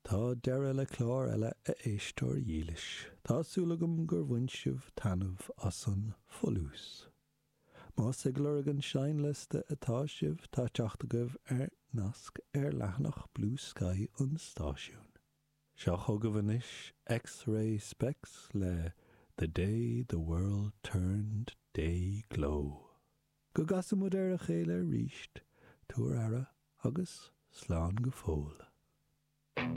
Tá deireadh le clár eile a éisteoir dhílis. Tá súil agam gur bhain sibh taitneamh as an folús. Más ag lorg an seinnliosta atá sibh, tá teacht agaibh ar nasc ar leathanach Bluesky an stáisiúin. Seo chugaibh anois X-Ray Spex le The Day the World Turned Day-Glo. Go gcasa muid ar a chéile arís, tabhair aire agus slán go fóill.